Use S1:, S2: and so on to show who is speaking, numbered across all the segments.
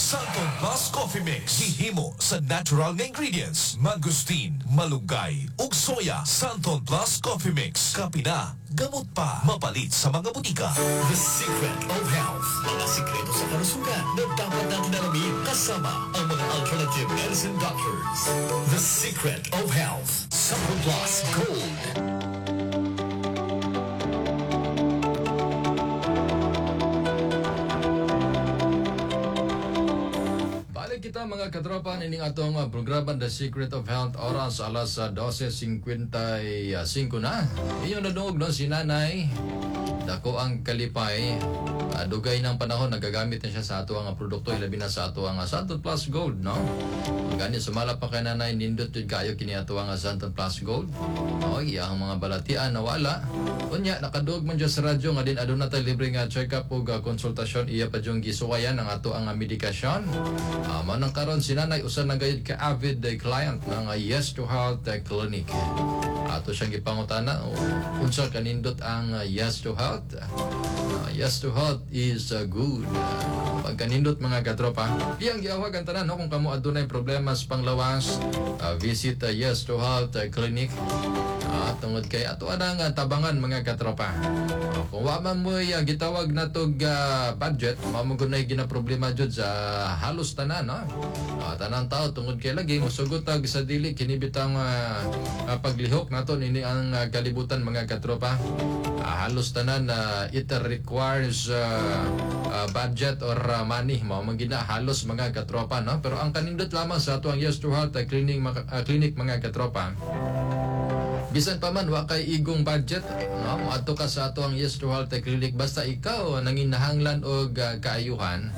S1: Santon Plus Coffee Mix. Gihimo sa natural nga ingredients. Mangosteen, malunggay, ug soya. Santon Plus Coffee Mix. Kape na, gamot pa. Mapalit sa mga butika.
S2: The Secret of Health. Mga sikreto sa kalusugan na dapat natin alamin kasama ang mga alternative medicine doctors. The Secret of Health. Santon Plus Gold.
S3: Balik kita, mga katropa, ining atong programa The Secret of Health, oras alas 12.55 na. Inyong nadungog, no, si nanay. Dako ang kalipay. Dugay ng panahon nagagamit na siya sa ato ang produkto, ilabi na sa ato ang Santon Plus Gold, no? Gani sumala pa kay nanay, nindot jud kayo kini ato ang Santon Plus Gold. No, iyang mga balatian nawala. Unya nakadungog man siya sa radyo nga din aduna tay libre nga check-up ug konsultasyon, iya pa jung gisuwayan ang ato ang medikasyon. Mao nang karon si nanay usa na gayud ka avid client ng Yes to Health Clinic. Ato siyang gipangutana unsa kanindot ang Yes to Health. Yes to Health is good. Pagkanindot, mga katropa. Iyang giawhag ang tanan, no, kung kamo adunay problema sa panglawas, visit Yes to Health Clinic. Tungod kay ato anang tabangan, mga katropa. Kung wa man mo gitawag na tog budget, mao man gud gina problema jud sa halos tanan, no? Tanang tao, tungod kay lagi mosugot tag sa dili kini bitang paglihok nato ini ang kalibutan, mga katropa. Halos tanan it requires budget or money, mao man gina halos, mga katropa, no? Pero ang kanindot lamang sa ato ang Yes to Health Clinic, mga katropa, bisan pa man wa kay igong budget, no, moadto ka sa ato ang Yes to Health Clinic, basta ikaw nanginahanglan og kaayuhan,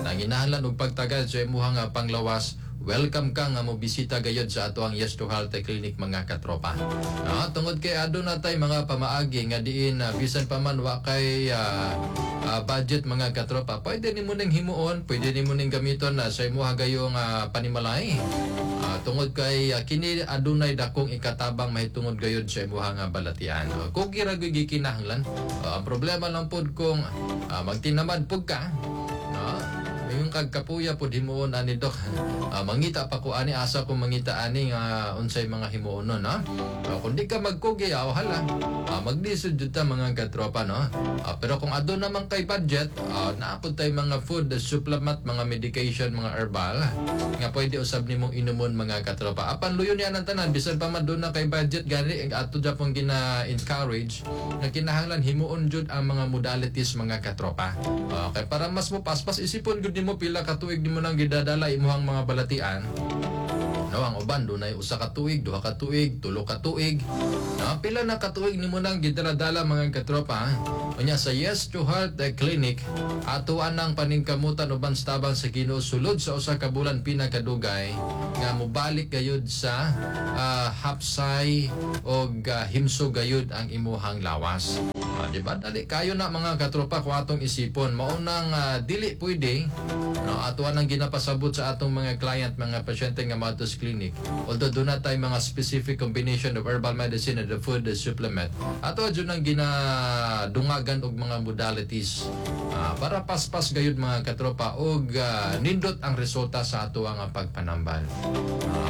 S3: nanginahanglan og pagtagad sa imuhang panglawas, welcome ka nga mo bisita gayod sa ato ang Yes to Health Clinic, mga katropa. No, tungod kay aduna tay mga pamaagi nga diin bisan pa man wa kay budget, mga katropa, pwede nimo ning himuon, pwede nimo ning gamiton na sa imuha gayong panimalay. Tungod kay kini adunay dakong ikatabang mahitungod gayod sa imuha nga balatian. Kung kira gyud gikinahanglan, ang problema lang pod kung magtinamad pud ka, no? Yung kag kapuya pod himuon ani, dok. Mangita pa ko ani, asa ko mangita ani nga unsay mga himuon, no? Kung di ka magkugi, aw hala. Maglisod jud ta, mga katropa, no? Pero kung aduna man kay budget, naa pud tay mga food supplement, mga medication, mga herbal nga pwede usab nimong inumon, mga katropa. Apan luyo niya ang tanan, bisan pa man duna kay budget gani, ato japon gina-encourage nga kinahanglan himuon jud ang mga modalities, mga katropa. Okay, para mas mo paspas, isipon gud nimo pila ka tuig nimo nang gidadala imuhang mga balatian. No, ang uban dunay 1 ka tuig, 2 ka tuig, 3 ka tuig. No, pila na ka tuig nimo nang gidala-dala, mga katropa. Unya sa Yes to Health Clinic, ato anang paningkamutan uban sa tabang sa Ginoo, sulod sa 1 ka bulan pinakadugay nga mobalik gayud sa hapsay og himso gayud ang imuhang lawas. Di ba? Dali kayo na, mga katropa, kung atong isipon. Mao nang dili pwede, no, ato nang ginapasabot sa atong mga client, mga pasyente nga moadto sa clinic. Although duna tay mga specific combination of herbal medicine and the food supplement. Ato jud nang ginadungagan og mga modalities para paspas gayud, mga katropa, og nindot ang resulta sa ato ang pagpanambal.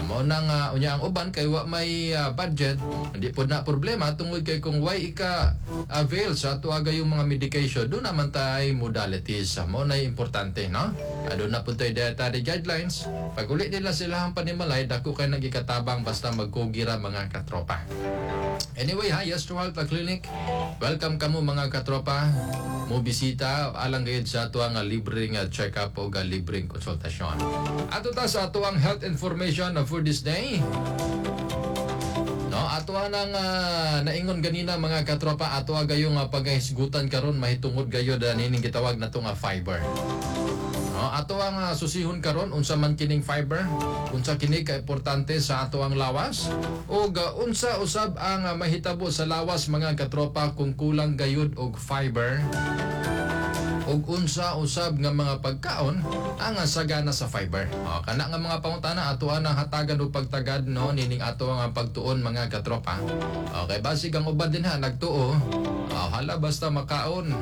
S3: Mao nang unya ang uban kay wa may budget, hindi pod na problema tungod kay kung way ika avail sa ato gayong mga medication, duna man tay modalities. Mao na importante, no? Aduna pud tay dietary guidelines. Pag uli nila sila ang panimalay, dako kay nagikatabang basta magkugira, mga katropa. Anyway ha, Yes to Health Clinic. Welcome kamo, mga katropa. Mo bisita alang gayud sa ato ang libreng check-up o libreng konsultasyon. Ato ta sa ato ang health information for this day. No, ato nang naingon ganina, mga katropa, ato gayong pagahisgutan karon mahitungod gayud nining gitawag nato nga fiber. No, ato ang susihon karon unsa man kining fiber, unsa kini ka importante sa ato ang lawas, ug unsa usab ang mahitabo sa lawas, mga katropa, kung kulang gayud og fiber. Ug Ug unsa usab nga mga pagkaon ang sagana sa fiber? O, kana nga mga pangutana ato ang hatagan og pagtagad, no, nining ato ang pagtuon, mga katropa. Okay, basig ang uban din ha nagtuo, hala, basta makaon,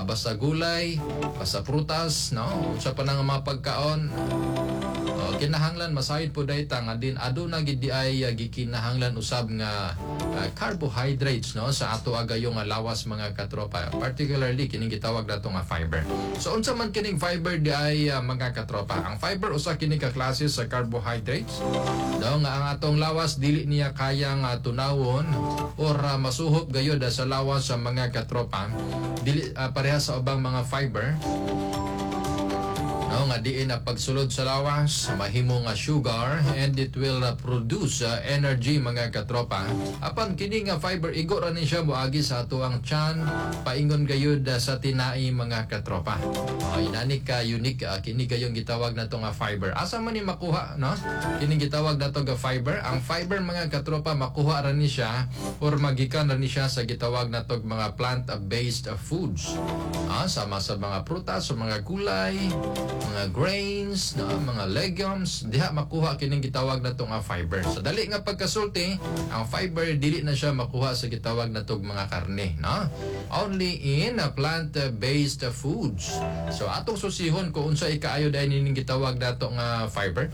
S3: basta gulay, basta prutas, no, unsa pa na nga mga pagkaon. Oh, kinahanglan masayod po dayta nga din aduna gid di ay gikinahanglan usab nga carbohydrates, no, sa ato agayong nga lawas, mga katropa, particularly kining gitawag nato nga fiber. So unsa man kining fiber di ay, mga katropa? Ang fiber, usa kini ka klase sa carbohydrates daw nga ang atong lawas dili niya kaya nga tunawon or masuhop gayud sa lawas sa mga katropa, dili pareha sa ubang mga fiber, no, nga diin na pagsulod sa lawas mahimo nga sugar and it will produce energy, mga katropa. Apan kini nga fiber, igo ra ni siya moagi sa atoang tiyan paingon gayud sa tinai, mga katropa. Oh, inani ka unique kini gayong gitawag nato nga fiber. Asa man ni makuha, no, kini gitawag nato nga fiber? Ang fiber, mga katropa, makuha ra ni siya or magikan ra ni siya sa gitawag nato mga plant based foods, sama sa mga prutas, sa mga gulay, mga grains, no, mga legumes, diha makuha kining gitawag nato nga fiber. Sa dali nga pagkasulti, ang fiber dili na siya makuha sa gitawag natog mga karne, no? Only in plant-based foods. So atong susihon kung unsa ikaayo dahil nining gitawag nato nga fiber.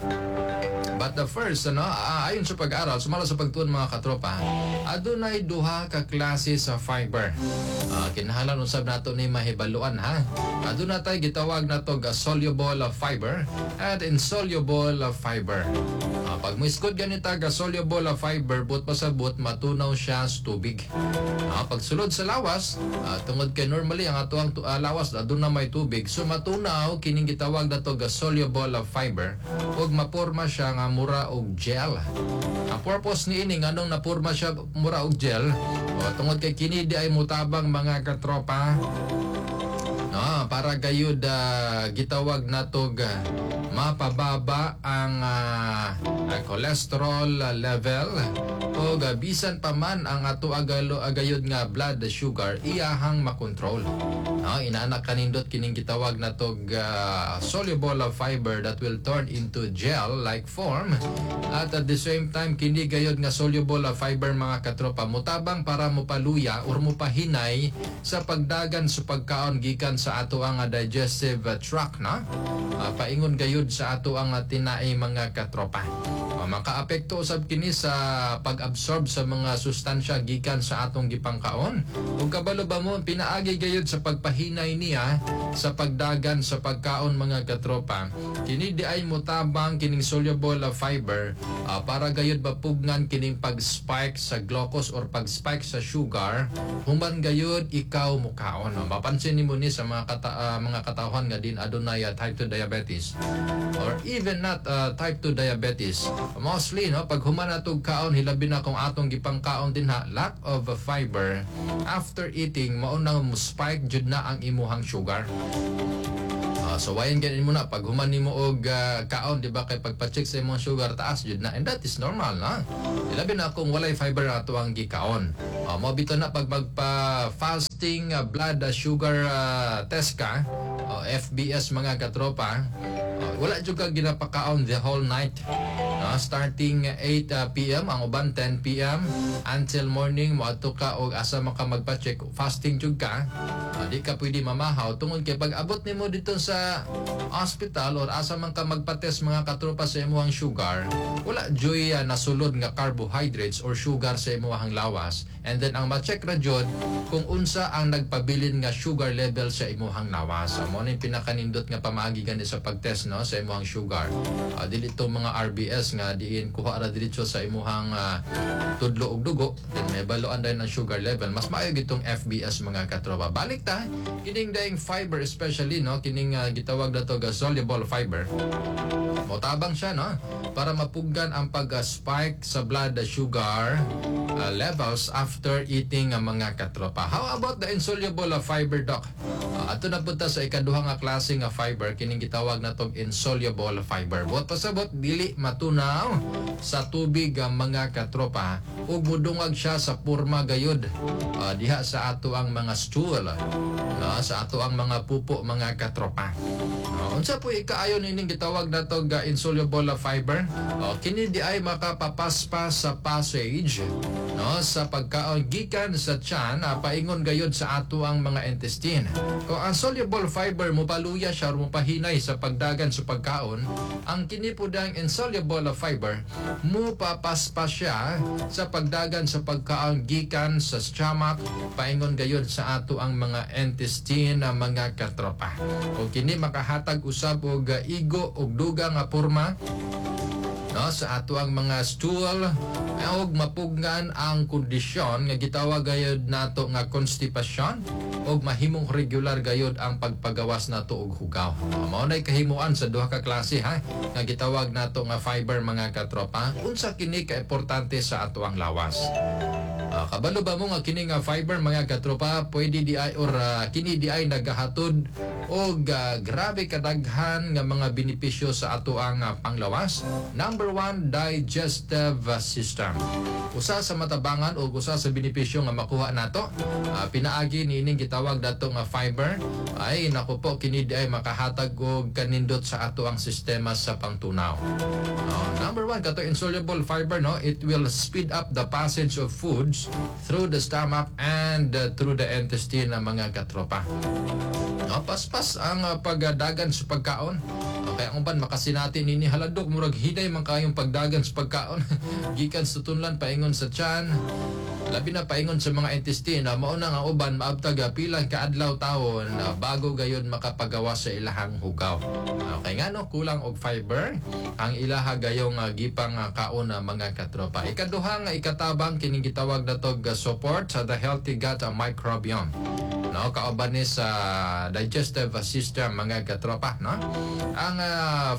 S3: But the first, ano, ayon sa pag-aral, sumala sa pagtuon, mga katropa, adunay duha ka klase sa fiber. Kinahanglan usab nato ni mahibaluan ha. Aduna tay gitawag nato ga soluble fiber and insoluble fiber. Pag moiskod ganita ga soluble fiber, but pasabot matunaw siya sa tubig. Pagsulod sa lawas, tungod kay normally ang atoang lawas aduna may tubig, so matunaw kining gitawag nato ga soluble fiber ug maporma siya nga mura og gel. Ang purpose niini nganong naporma siya mura og gel, o, tungod kay kini di ay mutabang, mga katropa, no, para gayud gitawag natog mapababa ang cholesterol level o bisan pa man ang ato agalo agayod nga blood sugar iyahang makontrol. No, inanak kanindot kining gitawag natog soluble fiber that will turn into gel like form, at the same time kini gayod nga soluble fiber, mga katropa, mutabang para mopaluya or mopahinay sa pagdagan sa pagkaon gikan sa ato ang digestive tract na paingon gayud sa ato ang tinai, mga katropa. Makaapekto usab kini sa pag-absorb sa mga sustansya gikan sa atong gipangkaon. Ug kabalo ba mo, pinaagi gayud sa pagpahinay niya sa pagdagan sa pagkaon, mga katropa. Kini di ay mutabang kining soluble fiber para gayud mapugngan kining pag-spike sa glucose or pag-spike sa sugar human gayud ikaw mukaon. Mapansin nimo ni sa mga katawhan nga din adunay type 2 diabetes or even not type 2 diabetes. Mostly, no, pag human natog kaon, hilabi na kung atong gipangkaon din ha lack of fiber, after eating mao nang mo spike jud na ang imuhang sugar. So wayan ganin mo na pag human nimo og kaon, di ba, kay pagpa-check sa imong sugar taas jud na, and that is normal na. Ilabi na kung walay fiber ato ang gikaon. Mo bitaw na pag magpa fasting blood sugar test ka, FBS, mga katropa, wala jud ka ginapakaon the whole night. No, starting 8 PM, ang uban 10 p.m. until morning moadto ka og asa man ka magpa-check, fasting jud ka. Di ka pwede mamahaw tungod kay pag abot nimo dito sa hospital or asa man ka magpa-test, mga katropa, sa imong sugar, wala juy nasulod nga carbohydrates or sugar sa imong lawas, and then ang ma-check ra jud kung unsa ang nagpabilin nga sugar level sa imong lawas. So, mo ni pinakanindot nga pamaagi gani sa pagtest, no, sa imong sugar. Dili to mga RBS nga diin kuha ra diretso sa imuhang tudlo og dugo, then may baluan dayon ang sugar level. Mas maayo gitong FBS, mga katropa. Balik ta kining daing fiber, especially, no, kining gitawag nato ga soluble fiber, motabang siya, no, para mapuggan ang pag-spike sa blood sugar levels after eating ang mga katropa. How about the insoluble fiber, doc? Ato na punta sa ikaduha nga klase nga fiber, kining gitawag natong insoluble fiber. Buot pasabot dili matunaw sa tubig ang mga katropa ug mudungag siya sa porma gayud diha sa ato ang mga stool. no, sa ato ang mga pupo, mga katropa. No, unsa po ikaayon ining gitawag nato ga insoluble fiber? O, kini di ay makapapaspas sa passage, no, sa pagkaon gikan sa tiyan paingon gayod sa ato ang mga intestine. Kung ang soluble fiber mopaluya siya or mopahinay sa pagdagan sa pagkaon, ang kini pud ang insoluble fiber mupapaspas siya sa pagdagan sa pagkaon gikan sa stomach paingon gayod sa ato ang mga intestine na mga katropa. O kini makahatag usab og igo og dugang nga porma, no, sa ato ang mga stool og mapugnan ang kondisyon nga gitawag gayod nato nga constipation og mahimong regular gayod ang pagpagawas nato og hugaw. Mao nay kahimuan sa duha ka klase, ha, nga gitawag nato nga fiber, mga katropa. Unsa kini ka importante sa ato ang lawas? Kabalo ba mo nga kini nga fiber, mga katropa, pwede di ay or kini di ay nagahatod og grabe kadaghan nga mga benepisyo sa ato ang panglawas? Number one, digestive system. Usa sa matabangan o usa sa benepisyo nga makuha nato pinaagi niining gitawag dato nga fiber ay, nako po, kini di ay makahatag og kanindot sa ato ang sistema sa pangtunaw. Number one, kato insoluble fiber, no, it will speed up the passage of foods through the stomach and through the intestine ng mga katropa. No, paspas ang pagdagan sa pagkaon. Okay, ang uban makasinati nini, "Hala dok, murag hinay man kayong pagdagan sa pagkaon gikan sa tunlan paingon sa tiyan, labi na paingon sa mga intestine." Mao na nga uban maabtag pilang kaadlaw tawon bago gayon makapagawas sa ilahang hugaw. Okay nga no, kulang og fiber ang ilaha gayong gipang kaon na mga katropa. Ikaduha nga ikatabang, kining gitawag natog support sa the healthy gut microbiome. No, kauban ni sa digestive system, mga katropa, no? Ang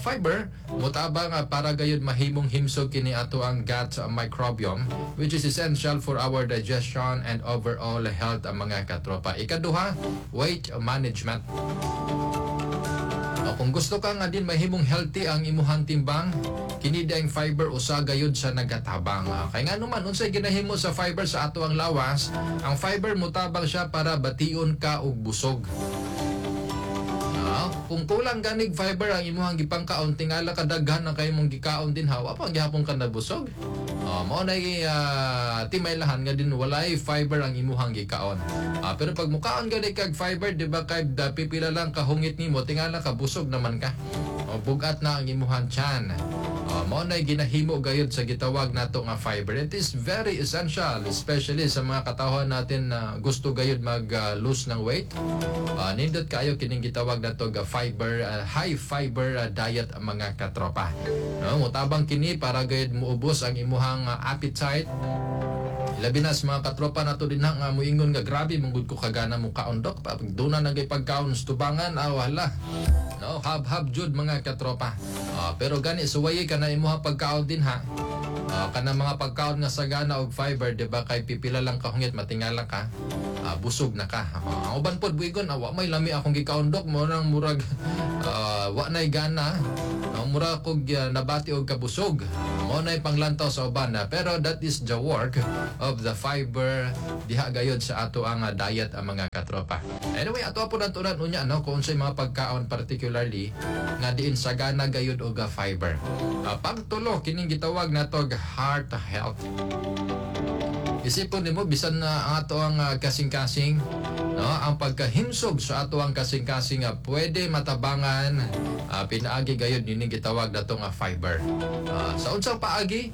S3: fiber mutabang para gayud mahimong himsog kini ato ang gut microbiome, which is essential for our digestion and overall health, ang mga katropa. Ikaduha, weight management. O, kung gusto ka nga din mahimong healthy ang imuhang timbang, kini ang fiber usa gayud sa nagatabang. Kay nga naman, unsay ginahimo sa fiber sa ato ang lawas? Ang fiber mutabang siya para bation ka og busog. Kung kulang ganig fiber ang imuhang gipangkaon, tingala kadaghan na kay mong gikaon din ha, wa pa gihapon ka nabusog. Oh, mao na timaylahan nga din walay fiber ang imuhang gikaon. Pero pag mukaon gani kag fiber, di ba, kay da, pipila lang kahungit nimo, tingala ka busog naman ka. O, bugat na ang imuhang tiyan. Oh, mao na ginahimo gayud sa gitawag nato nga fiber. It is very essential, especially sa mga katawhan natin na gusto gayud mag lose ng weight. Nindot kayo kining gitawag nato ga fiber, high fiber diet, ang mga katropa. No, mutabang kini para gayud muubos ang imuhang appetite. Labi na sa mga katropa nato din nga muingon nga, "Grabe man gud ko kagana mo kaon, dok. Pag duna na gay pagkaon sa tubangan, ah, wala." No, hab-hab jud, mga katropa. Pero gani suwayi ka na imuha pagkaon din ha. Kana mga pagkaon nga sagana og fiber, di ba, kay pipila lang kahungit, matingala ka. Busog na ka. Ang uban pod buigon, "Wa may lami akong gikaon, dok, mo nang murag wa nay gana. No, mura kog nabati og kabusog." Mo nay panglantaw sa uban na. Pero that is the work of the fiber diha gayod sa ato ang diet, ang mga katropa. Anyway, ato po naturan unya, no, kung unsay mga pagkaon particularly nga diin sagana gayud og fiber. Pangtulo, kining gitawag nato og heart health. Isipon nimo, bisan na ang ato ang kasing-kasing, no, ang pagkahimsog sa ato ang kasing-kasing pwede matabangan pinaagi gayud nining gitawag nato nga fiber. Sa unsang paagi?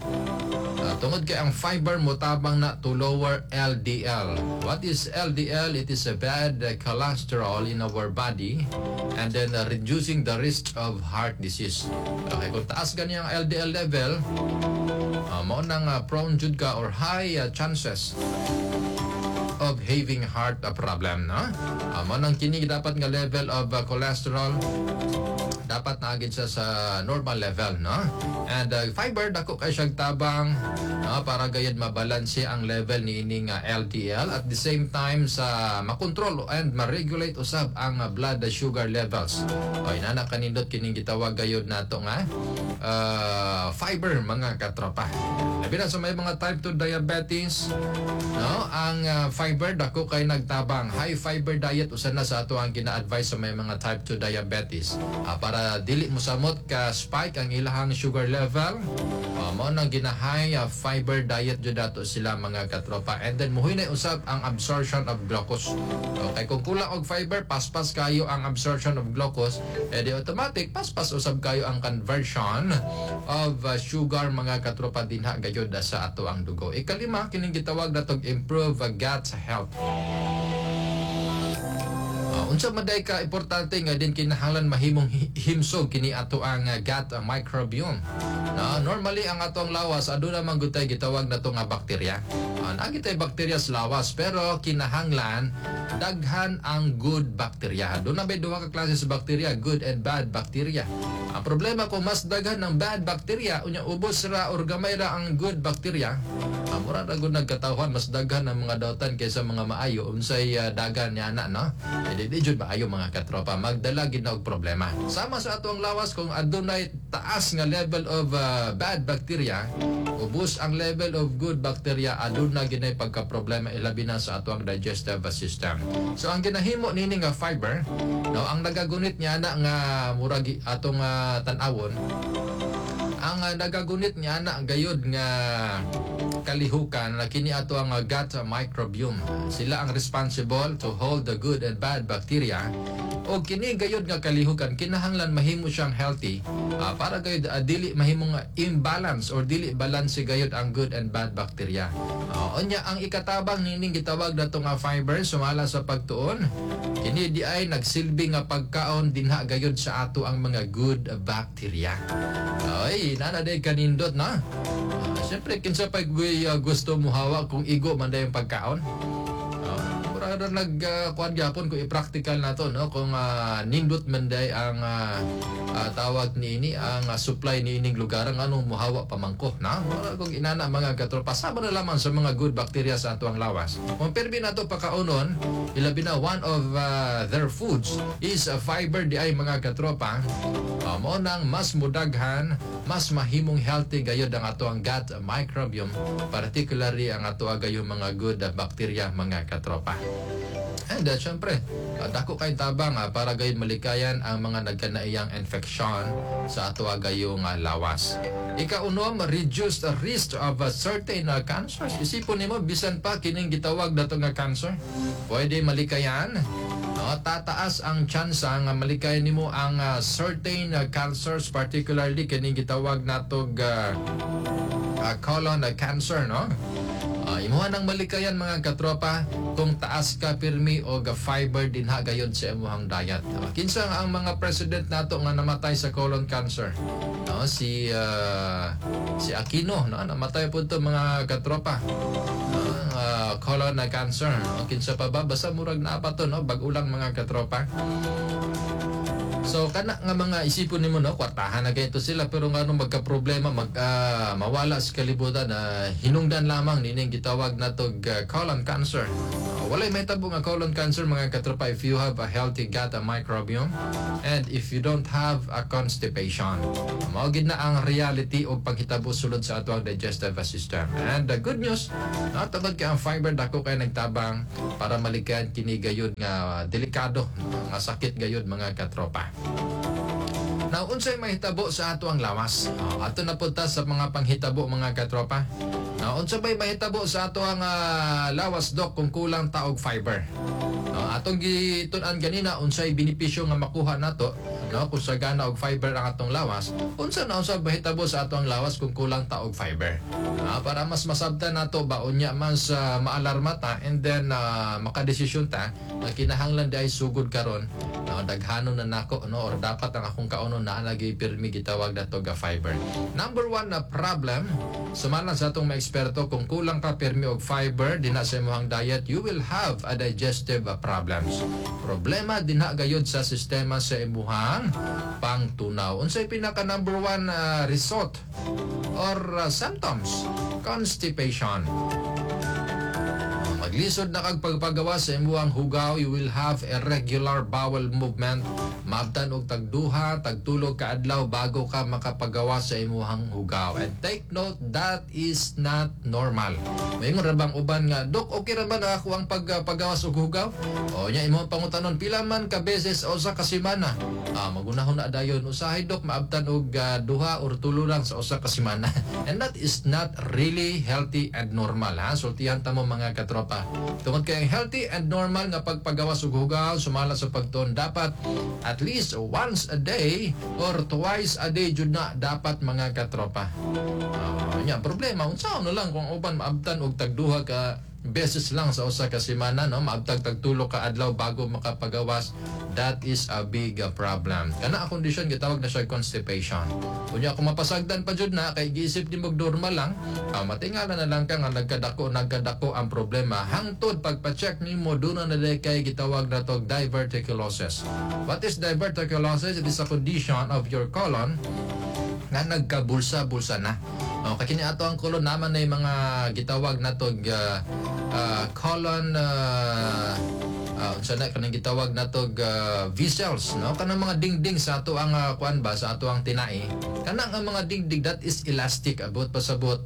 S3: Tungod kay ang fiber motabang na to lower LDL. What is LDL? It is a bad cholesterol in our body and then reducing the risk of heart disease. Okay, kung taas gani ang LDL level, mao nang prone jud ka or high chances of having heart problem, no? Mao nang kini dapat nga level of cholesterol dapat Dapat naa gid siya sa normal level, no? And fiber dako kay siyang tabang, no, para gayud mabalanse ang level niini nga LDL, at the same time sa makontrol and ma-regulate usab ang blood sugar levels. O inana kanindot kining gitawag gayud nato nga fiber, mga katropa. Labi na sa may mga type 2 diabetes, no? Ang fiber dako kay nagtabang. High fiber diet usa na sa ato ang gina-advise sa may mga type 2 diabetes para dili mosamot ka spike ang ilahang sugar level. Mao nang gina-high fiber diet jud ato sila, mga katropa. And then muhinay usab ang absorption of glucose. Okay, kung kulang og fiber, paspas kayo ang absorption of glucose, eh di automatic paspas usab kayo ang conversion of sugar, mga katropa, dinha gayud sa ato ang dugo. Ikalima, kining gitawag natog improve gut health. Unsa man day ka importante nga din kinahanglan mahimong himsog kini ato ang gut microbiome. No, normally ang ato ang lawas aduna man gud tay gitawag nato nga bakterya. Naa gitay bakterya sa lawas, pero kinahanglan daghan ang good bacteria. Duna bay duha ka klase sa bakterya, good and bad bacteria. Ang problema, kung mas daghan ng bad bacteria unya ubos ra or gamay ra ang good bacteria, mura ra gud nagkatawhan, mas daghan ang mga dautan kaysa mga maayo, unsay dagan niya na, no? Eh, di jud maayo, mga katropa, magdala gid na og problema. Sama sa ato ang lawas, kung adunay taas nga level of bad bacteria, ubos ang level of good bacteria, aduna ginay pagka-problema, ilabi na sa ato ang digestive system. So ang ginahimo nini nga fiber, no, ang nagagunit niya na nga murag atong tan-awon, ang nagagunit niya na gayud nga kalihukan na kini ato ang gut microbiome. Sila ang responsible to hold the good and bad bacteria. O kini gayud nga kalihukan kinahanglan mahimo siyang healthy para gayud dili mahimong imbalance or dili balance gayud ang good and bad bacteria. Unya ang ikatabang nining gitawag nato nga fiber, sumala sa pagtuon, kini di ay nagsilbi nga pagkaon dinha gayud sa ato ang mga good bacteria. Ay, nana day kanindot na. Siyempre, kinsa pa gusto mo hawa kung igo man day yung pagkaon? Mura na nag kuan gyapon kung i-practical na to, no, kung nindot man day ang tawag niini, ang supply niining lugar, ang anong muhawa pa man ko na mura kung inana, mga katropa. Sama na lamang sa mga good bacteria sa atuang lawas kung permi nato pakaunon, ilabi na one of their foods is a fiber di ay, mga katropa, mao nang mas mudaghan, mas mahimong healthy gayud ang ato ang gut microbiome, particularly ang ato gayud mga good bacteria, mga katropa. And syempre, dako kay tabang para gayud malikayan ang mga nagkanaiyang infection sa ato gayong lawas. Ikaunom, reduce the risk of certain cancers. Isipon nimo, bisan pa kining gitawag nato nga cancer, pwede malikayan. No, tataas ang tsansa nga malikayan nimo ang certain cancers, particularly kining gitawag natog colon cancer, no? Imuha nang malikayan, mga katropa, kung taas ka pirmi og fiber dinha gayud sa imuhang diet. Kinsa ang mga president nato nga namatay sa colon cancer? No, si si Aquino, no, namatay po to, mga katropa. No, colon cancer. No? Kinsa pa ba? Basta murag naa pa to, no, bag-o lang, mga katropa. So kana nga mga isipon nimo, no, kwartahan na kaayo sila, pero ngano magka-problema, mag mawala sa kalibutan na hinungdan lamang nining gitawag natog colon cancer. Walay mahitabo nga colon cancer, mga katropa, if you have a healthy gut microbiome and if you don't have a constipation. Mao gid na ang reality og paghitabo sulod sa ato ang digestive system. And the good news, no, tungod kay ang fiber dako kay nagtabang para malikayan kini gayud nga delikado nga sakit gayud, mga katropa. Now, unsay mahitabo sa ato ang lawas? Oh, ato na punta sa mga panghitabo, mga katropa. Now, unsa bay mahitabo sa ato ang lawas, dok, kung kulang ta og fiber? No, atong gitun-an ganina unsay benepisyo nga makuha nato, no, kung sagana og fiber ang atong lawas. Unsa na unsa mahitabo sa ato ang lawas kung kulang ta og fiber? Para mas masabtan nato ba, unya mas maalarma ta and then makadesisyon ta na kinahanglan di ay sugod karon, no, No, daghanon na nako, no, or dapat ang akong kaunon naa lagi pirmi gitawag nato ga fiber. Number one na problem, sumala sa atong mga eksperto, kung kulang ka pirmi og fiber dinha sa imong diet, you will have a digestive problems. Problema dinha gayud sa sistema sa imuhang pangtunaw. Unsay pinaka number one result or symptoms? Constipation. Maglisod na kag pagpagawa sa imuhang hugaw, you will have irregular bowel movement. Maabtan og tagduha, tagtulo ka adlaw bago ka makapagawa sa imuhang hugaw. And take note, that is not normal. Maingon ra bang uban nga, "Dok, okay ra ba na ako ang paggawas og hugaw?" O nya imong pangutanon, "Pila man ka beses o usa ka semana?" Ah, magunahon na dayon. "Usahay, Dok, maabtan og duha or tulo lang sa usa ka semana." And that is not really healthy and normal, ha. Sultihan ta mo, mga katropa. Tungod kay ang healthy and normal nga pagpagawas og hugaw sumala sa pagtuon, dapat at least once a day or twice a day jud na dapat, mga katropa. Nya problema, unsa na lang kung uban maabtan og tagduha ka beses lang sa usa ka semana, no, maabtag tagtulo ka adlaw bago makapagawas? That is a big problem. Kana ang kondisyon gitawag na siya constipation. Unya kung mapasagdan pa jud na kay giisip nimo normal lang, matingala na lang ka nga nagkadako nagkadako ang problema hangtod pagpa-check nimo, duna na diay kay gitawag na tog diverticulosis. What is diverticulosis? It is a condition of your colon nga nagkabulsa-bulsa na. O, kay kini ato ang colon naman na yung mga gitawag na tog colon, unsa na kanang gitawag na tog vessels, no, kanang mga dingding sa ato ang kuan ba, sa ato ang tinai. Kanang ang mga dingding, that is elastic, abot pasabot,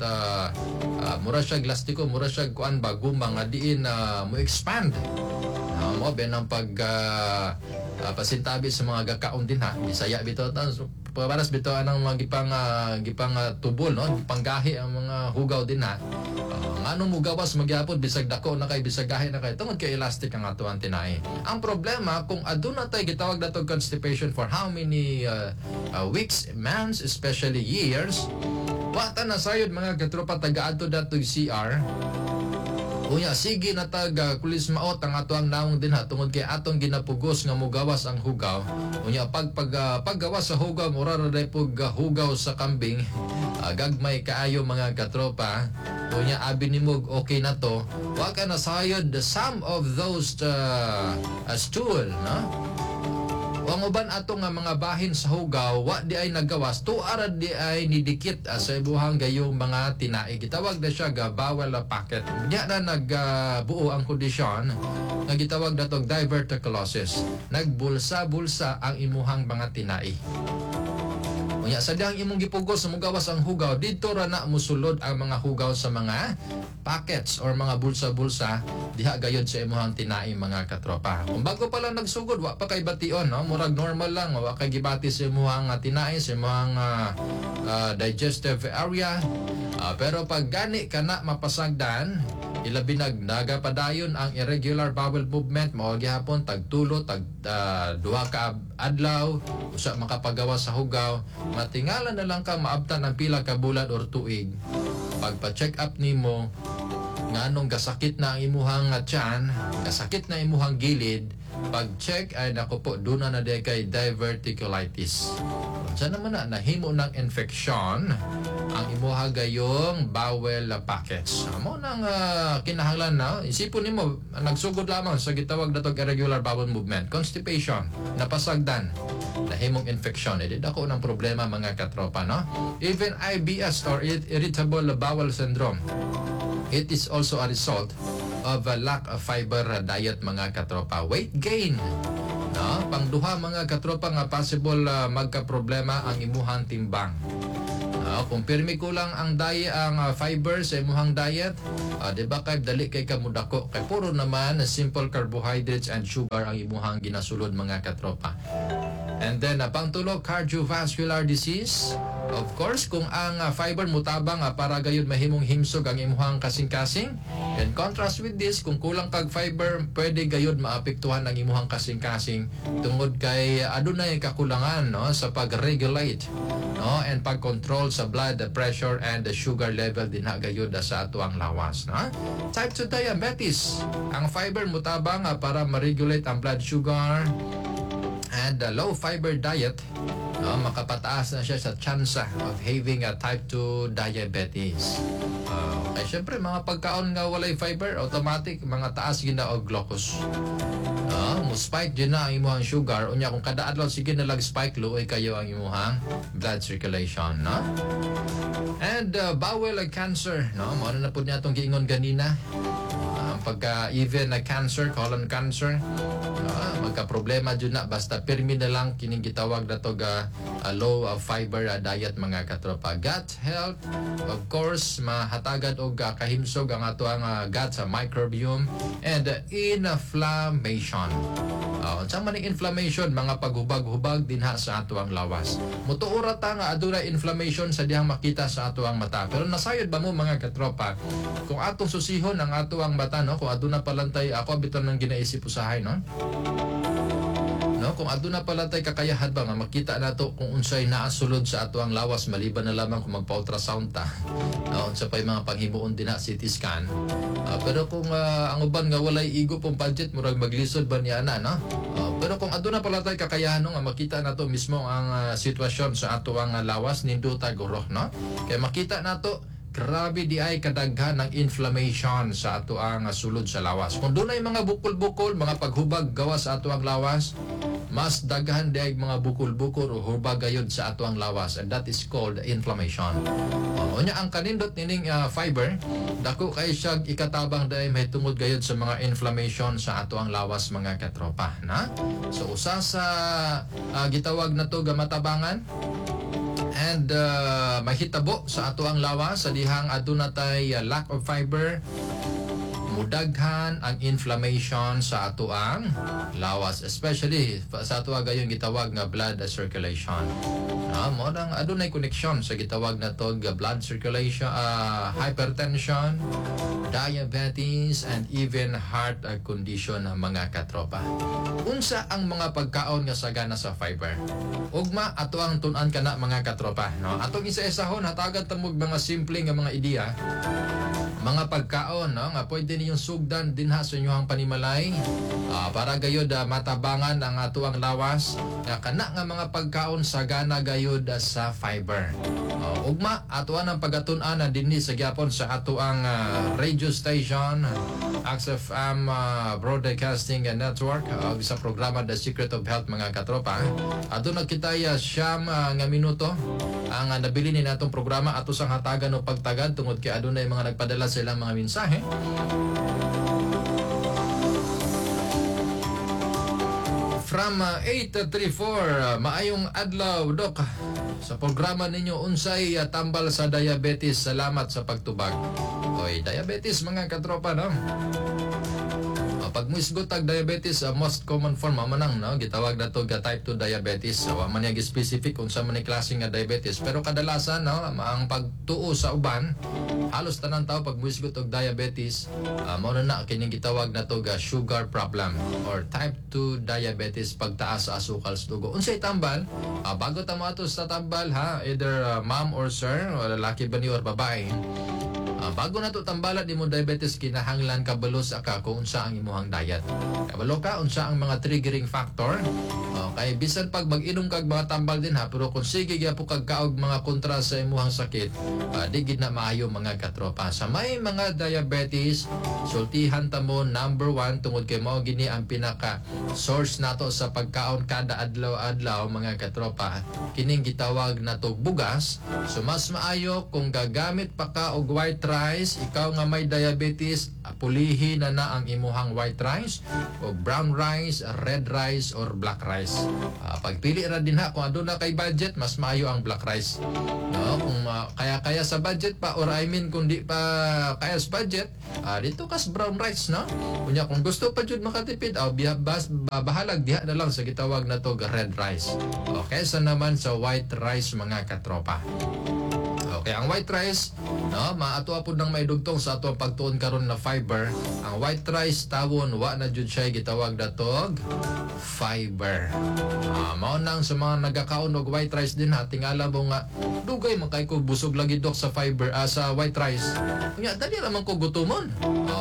S3: mura siya elastiko, mura siya kuan ba, guma nga diin mo expand. Mo ben ang pag pasintabi sa mga gakaon din ha. Bisaya bitaw ta, paras bitaw anang mga gipang tubol, no, gipanggahi ang mga hugaw din ha. Ngano mo gawas magyapon bisag dako na kay, bisag gahi na kay, tungod kay elastic ang ato ang tinai. Ang problema kung aduna tay gitawag natong constipation for how many weeks, months, especially years, wa ta na sayod, mga katropa, taga-adto datog CR. Unya, sige na tag kulis maot ang ato ang nawong din ha, tungod kay atong ginapugos nga mugawas ang hugaw. Unya paggawas sa hugaw, mura ra day pug hugaw sa kambing. Gagmay kaayo, mga katropa. Unya abi nimo okay na to. Wa ka na sayod some of those stool, no? Ang uban ato nga mga bahin sa hugaw, wa di ay nagawas, tuara di ay nidikit sa ibuhang gayong mga tinai. Gitawag na siya ga bowel pocket. Diya na nagbuo ang kondisyon nga gitawag natong diverticulosis. Nagbulsa-bulsa ang imuhang mga tinai. Unya sa dihang imong gipugos sa mugawas ang hugaw, dito ra na musulod ang mga hugaw sa mga pockets or mga bulsa-bulsa diha gayod sa imuhang tinai, mga katropa. Kung bago pa lang nagsugod, wa pa kay bation, no? Murag normal lang, wa kay gibati sa imuhang tinai, sa imuhang digestive area. Pero pag gani ka na mapasagdan, ilabi nag nagapadayon ang irregular bowel movement, mao gihapon tagtulo, tag duha ka adlaw usa makapagawa sa hugaw, matingala na lang ka maabtan ang pila ka bulan or tuig. Pagpa-check up nimo, nganong gasakit na ang imuhang tiyan, gasakit na imuhang gilid, pag-check ay nako po, duna na diay kay diverticulitis. Unsa naman na nahimo ng infection ang imuha gayong bowel pockets. Mo nang kinahanglan na isipon nimo, nagsugod lamang sa gitawag natong irregular bowel movement, constipation, napasagdan, nahimong infection. Edi dako ng problema, mga katropa, no? Even IBS or irritable bowel syndrome, it is also a result of a lack of fiber diet, mga katropa. Weight gain. No? Pangduha, mga katropa, nga possible magka-problema ang imuhang timbang. No? Kung pirmi kulang ang diet, ang fiber sa imuhang diet, di ba kay dali kay kamudako kay puro naman simple carbohydrates and sugar ang imuhang ginasulod, mga katropa. And then, pangtulo, cardiovascular disease. Of course, kung ang fiber mutabang para gayud mahimong himsog ang imuhang kasing-kasing. In contrast with this, kung kulang kag fiber, pwede gayud maapektuhan ang imuhang kasing-kasing tungod kay adunay kakulangan, no, sa pag-regulate, no, and pag-control sa blood pressure and the sugar level dinha gayud sa atuang lawas, no? Type 2 diabetes. Ang fiber mutabang para ma-regulate ang blood sugar And the low fiber diet, no, makapataas na siya sa tsansa of having a type 2 diabetes. Kay syempre mga pagkaon nga walay fiber, automatic mga taas gina og glucose. No, mo spike din na ang imuhang sugar unya kung kada adlaw sige na lag spike, luoy kayo ang imuhang blood circulation, no? And bowel cancer, no? Mao na pud niya atong giingon ganina. Pagka even na cancer, colon cancer, magka problema jud na basta pirmi na lang kining gitawag na to ga low fiber diet, mga katropa. Gut health, of course, mahatagan og kahimsog ang ato ang gut sa microbiome and inflammation. Unsa man ang inflammation? Mga paghubag-hubag dinha sa ato ang lawas. Mutuo ra ta nga adunay inflammation sa dihang makita sa ato ang mata. Pero nasayod ba mo, mga katropa, kung atong susihon ang ato ang mata, no, kung aduna palantay, ako bitaw nang ginaisip usahay, no? No, kung aduna pala tay kakayahan ba nga makita nato kung unsay naa sulod sa ato ang lawas, maliban na lamang kung magpa-ultrasound ta. No, unsa pay mga panghimuon dinha, CT scan. Pero kung ang uban nga walay igo pong budget, murag maglisod ba niya na, no? Pero kung aduna pala tay kakayahan, no, nga makita nato mismo ang sitwasyon sa ato ang lawas, nindota guro, no? Kay makita nato, grabe di ay kadaghan ng inflammation sa ato ang sulod sa lawas. Kung dunay mga bukol-bukol, mga paghubag gawas sa ato ang lawas, mas daghan di ay mga bukol-bukol o hubag gayud sa ato ang lawas, and that is called inflammation. Unya ang kanindot nining fiber, dako kay siya ikatabang dahil may tungod gayud sa mga inflammation sa ato ang lawas, mga katropa, na? So usa sa gitawag na to gamatabangan and mahitabo sa ato ang lawas sa dihang aduna tay lack of fiber, mudaghan ang inflammation sa ato ang lawas, especially sa ato gayon gitawag nga blood circulation. Mo nang adunay connection sa gitawag na to nga blood circulation, hypertension, diabetes, and even heart condition, mga katropa. Unsa ang mga pagkaon nga sagana sa fiber? Ugma ato ang tun-an kana, mga katropa, no? Atong isa-isahon, hatagan tamog mga simple nga mga ideya, mga pagkaon, no, nga pwede ninyong sugdan dinha sa inyong panimalay para gayod matabangan ang ato ang lawas nga kana nga mga pagkaon sagana gayod sa fiber. Ugma ato ang pagatun-an na dinhi sa gyapon sa ato ang radio station XFM Broadcasting Network ug sa programa The Secret of Health, mga katropa. Aduna kita 9 nga minuto ang nabili ni natong programa. Ato sang hatagan o pagtagad tungod kay adunay mga nagpadala sa ilang mga mensahe. From 834, maayong adlaw, Dok. Sa programa ninyo, unsay tambal sa diabetes? Salamat sa pagtubag. Oy, diabetes, mga katropa, no? Pag muisgot tag diabetes, most common form manang, no, gitawag na to ga type 2 diabetes. So, wa man niya specific unsa man ni klase nga diabetes, pero kadalasan, no, ang pagtuo sa uban, halos tanan tao pag muisgot og diabetes, mao na na kining gitawag na to ga sugar problem or type 2 diabetes, pagtaas sa asukal sa dugo. Unsay tambal? Bago ta moadto sa tambal, ha, either ma'am or sir, o lalaki ba ni or babae, bago na to tambalan nimo diabetes, kinahanglan kabalo sa ka kung unsa ang imuhang diet. Kabalo ka unsa ang mga triggering factor. Kay bisan pag mag-inom kag mga tambal din ha, pero kung sige gyapon kag kaog mga kontra sa imuhang sakit, di gid na maayo, mga katropa. Sa may mga diabetes, sultihan ta mo number 1 tungod kay mao gini ang pinaka source nato sa pagkaon kada adlaw-adlaw, mga katropa. Kining gitawag nato bugas. So mas maayo kung gagamit pa ka og white rice, ikaw nga may diabetes, pulihi na na ang imuhang white rice o brown rice, red rice or black rice. Pagpili ra din ha, kung aduna kay budget, mas maayo ang black rice. No, kung kaya-kaya sa budget pa, or I mean kung di pa kaya sa budget, dito kas brown rice, no? Kunya kung gusto pa jud makatipid, bahalag diha na lang sa gitawag na to red rice. Okay, sa naman sa white rice, mga katropa. Okay, ang white rice, no, maato pud nang maidugtong sa ato ang pagtuon karon na fiber. Ang white rice tawon wa na jud siya gitawag datog fiber. Mao nang sa mga nagakaon og white rice din ha, tingala mo nga dugay man kay ko busog lagi, dok, sa fiber, sa white rice. Nya dali ra man ko gutomon.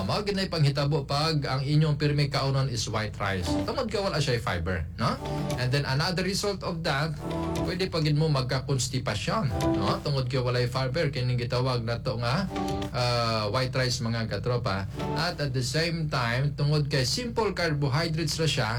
S3: Mao gid nay panghitabo pag ang inyong pirmi kaunon is white rice. Tungod kay wala siya fiber, no? And then another result of that, pwede pa gid mo magka-constipation, no? Tungod kay walay fiber kining gitawag nato nga white rice, mga katropa. At the same time, tungod kay simple carbohydrates ra siya,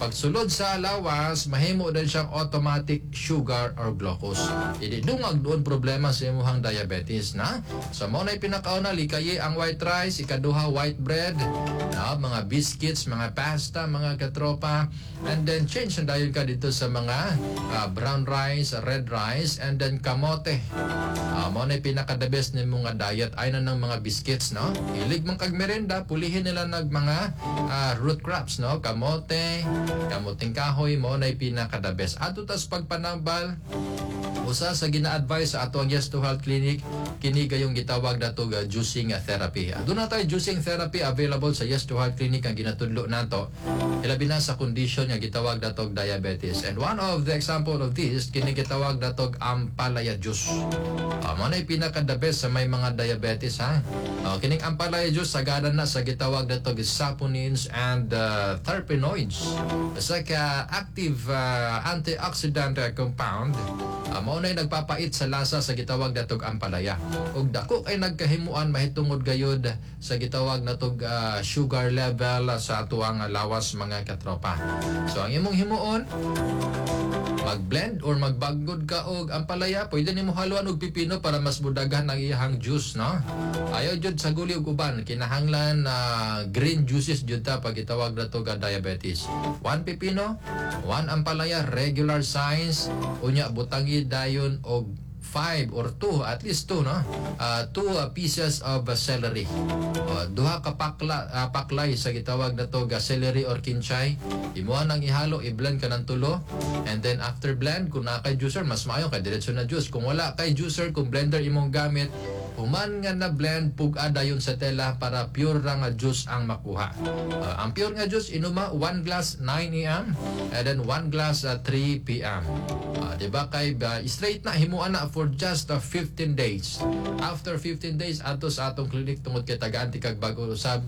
S3: pagsulod sa lawas, mahimo din siyang automatic sugar or glucose. Idi dungag doon problema sa imuhang diabetes na. So mao na pinakauna, likayi ang white rice, ikaduha, white bread, no, mga biscuits, mga pasta, mga katropa, and then change na dayon ka dito sa mga brown rice, red rice, and then kamote. Mao na pinaka the best nimo nga diet ay na ng mga biscuits, no? Hilig man kag merenda, pulihin nila nag mga root crops, no? Kamote, kamuting kahoy, mao na pinaka the best. Adto tas pagpanambal, usa sa gina-advise sa ato ang Yes to Health Clinic kini gayong gitawag nato ga juicing therapy. Aduna tayo juicing therapy available sa Yes to Health Clinic ang ginatudlo nato ilabi na sa condition nga gitawag natog diabetes. And one of the example of this kini gitawag natog ampalaya juice. Mao na pinaka the best sa may mga diabetes ha. Kining ampalaya juice sagana na sa gitawag natog saponins and terpenoids. Sa ka active antioxidant compound, mao na nagpapait sa lasa sa gitawag natog ampalaya. Ug dako kay nagkahimuan mahitungod gayud sa gitawag natog sugar level sa atuang lawas, mga katropa. So ang imong himuon, mag-blend or magbagod ka og ampalaya, pwede nimo haluan og pipino para mas budaghan ang iyang juice, no? Ayaw jud sa guli og uban, kinahanglan na green juices jud ta pag gitawag nato ga diabetes. One pipino, one ampalaya, regular size, unya butangi dayon og 5 or 2, at least 2, no? 2 pieces of celery. Duha ka paklay sa gitawag nato ga celery or kinchay. Imuha nang ihalo, i-blend ka ng tulo. And then after blend, kung naa kay juicer, mas maayo kay diretso na juice. Kung wala kay juicer, kung blender imong gamit, human nga na blend, pug-a dayon sa tela para pure ra nga juice ang makuha. Ang pure nga juice inuma 1 glass 9 a.m. and then 1 glass 3 p.m. Di ba kay straight na himuan na for just 15 days. After 15 days, adto sa atong clinic tungod kay tagaan ti kag bag-o usab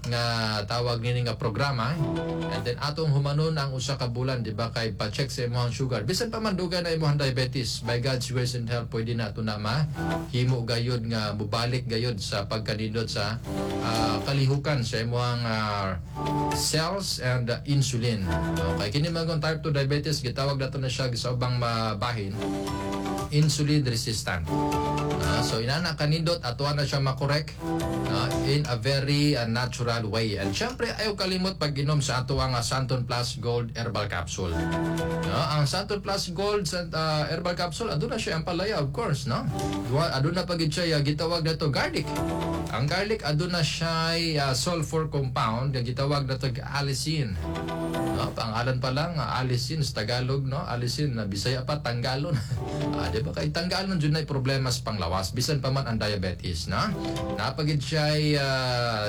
S3: nga tawag nini nga programa. And then atong humanon ang usa ka bulan, di ba kay pa-check sa imong sugar. Bisan pa man dugay na imong diabetes, by God's grace and help pwede na ato na ma himo gayud nga mubalik gayud sa pagkanindot sa kalihukan sa imong cells and insulin. Okay, kini man kung type 2 diabetes gitawag nato na siya sa ubang mabahin insulin resistant. So inana kanindot atuan na siya makorek in a very natural way. And syempre ayaw kalimot pag-inom sa ato ang Santon Plus Gold Herbal Capsule. No, ang Santon Plus Gold Herbal Capsule aduna siya ampalaya, of course, no. Duwa aduna pa gid siya gitawag nato garlic. Ang garlic aduna siya sulfur compound nga gitawag nato allicin. No, pangalan pa lang allicin sa Tagalog, no? Allicin na Bisaya pa tanggalon. Di ba kay tanggalon jud na problema sa panglawas bisan pa man ang diabetes, no? Napagid siya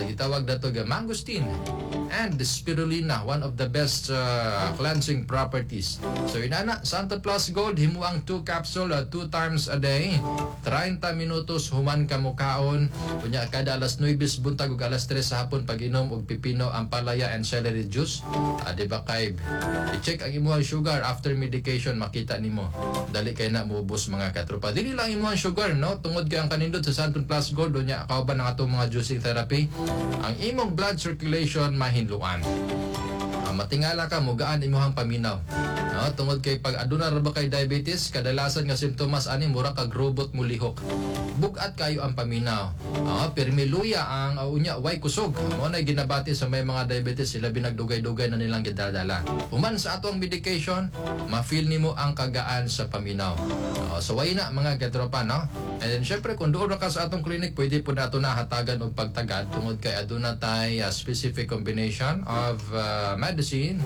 S3: gitawag nato ga mangosteen and the spirulina, one of the best cleansing properties. So inana, Santo Plus Gold, himuang 2 capsule 2 times a day. 30 minutos human ka mukaon. Unya kada alas 9 sa buntag ug alas 3 sa hapon pag-inom og pipino, ampalaya and celery juice. Di ba kay i-check ang imong sugar after medication, makita nimo. Dali kay na muubos, mga katropa. Dili lang imong sugar, no? Tungod kay ang kanindot sa Santon Plus Gold unya kauban ang atong mga juicing therapy, ang imong blood circulation mahinluan. Matingala ka, mugaan imuhang paminaw. No, tungod kay pag aduna ra ba kay diabetes, kadalasan nga simptomas ani mura kag robot mulihok. Bugat kayo ang paminaw. Pirmi luya ang unya way kusog. Mo na ginabati sa may mga diabetes sila binagdugay-dugay na nilang gidadala. Human sa atong medication, ma-feel nimo ang kagaan sa paminaw. So way na, mga katropa, no? And then syempre kung doon ra ka sa atong clinic, pwede po nato na hatagan og pagtagad tungod kay aduna tay specific combination of medicine.